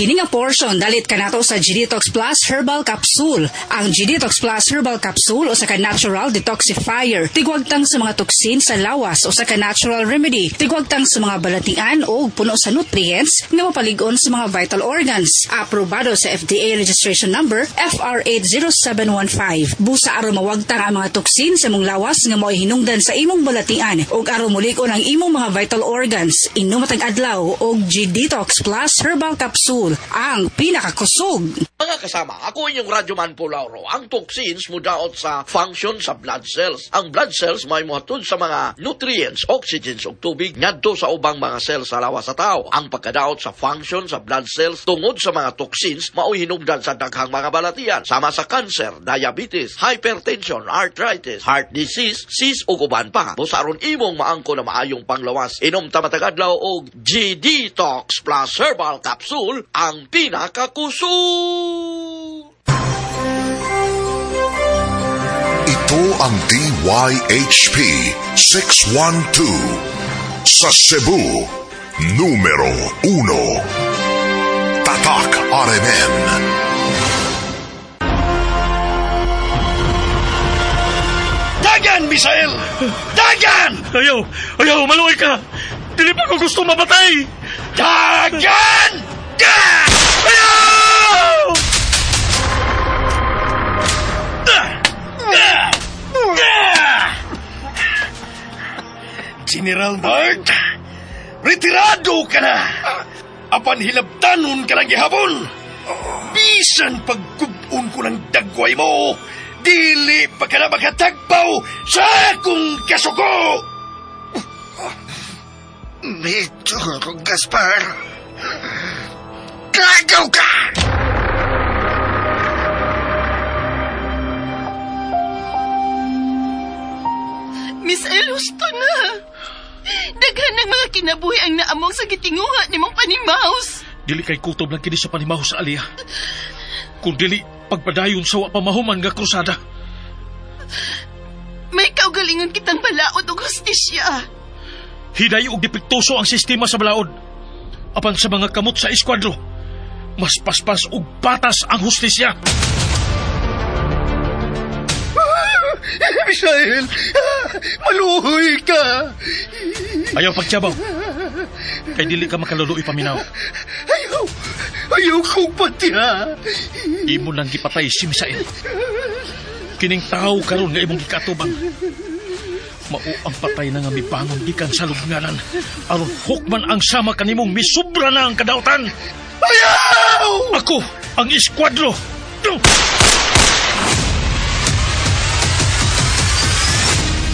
Kini nga portion dalit kanato sa G-Detox Plus Herbal Capsule. Ang G-Detox Plus Herbal Capsule usa ka natural detoxifier. Tigwagtang sa mga toksin sa lawas, usa ka natural remedy. Tigwagtang sa mga balatian o puno sa nutrients nga mapalig-on sa mga vital organs. Aprobado sa FDA registration number FR80715. Busa aron mawagtang ang mga toksin sa imong lawas nga mo'y hinungdan sa imong balatian ug aron mulig-on ang imong mga vital organs. Inom matag adlaw og G-Detox Plus Herbal Capsule, ang pinakakusog. Mga kasama, ako inyong Radyoman Pulauro. Ang toxins mudaot sa function sa blood cells. Ang blood cells may muhatod sa mga nutrients, oxygens ug tubig ngadto sa ubang mga cells sa lawas sa tao. Ang pagkadaot sa function sa blood cells tungod sa mga toxins mao'y hinungdan sa daghang mga balatian sama sa cancer, diabetes, hypertension, arthritis, heart disease, cyst ug uban pa. Busa aron imong maangko na maayong panglawas, inom ta matag adlaw og G-Detox Plus Herbal Capsule, ang pinakakusog. Ito ang DYHP 612 sa Cebu, numero 1. Tatak RMN. Dagan, Misael! Dagan! Ayaw! Ayaw! Maluoy ka! Dili pa ko gusto mapatay! Dagan! Ayaw! General Bart, retirado ka na! Apan hilabtanon ka na gihapon! Bisan pagkubon ko ng dagway mo, dili pa ka na makatagpaw sa akong kasuko! Medyo, Gaspar. Gagaw ka! Miss El, husto na. Daghan ng mga kinabuhi ang naamong sa gitinguha ni mong panimaus. Dili kay kutob lang kini sa panimaus, Alia. Kung dili, pagpadayon sa wa pamahuman nga krusada. May kaugalingon kitang balaod og hustisya. Hiday og depektuso ang sistema sa balaod. Apan sa mga kamot sa eskwadro, mas paspas og patas ang hustisya. Misael, maluhoy ka. Ayaw pagtyabaw. Kay dili ka makaluluoy paminaw. Ayaw, ayaw kong patiha. Imo nang gipatay si Misael. Kining tao karon nga imong gikatubang. Mao ang patay na nga mibangon gikan sa lubnganan. Aron hukman ang sama kanimong misubra na ang kadautan. Ayaw! Ako ang eskwadro.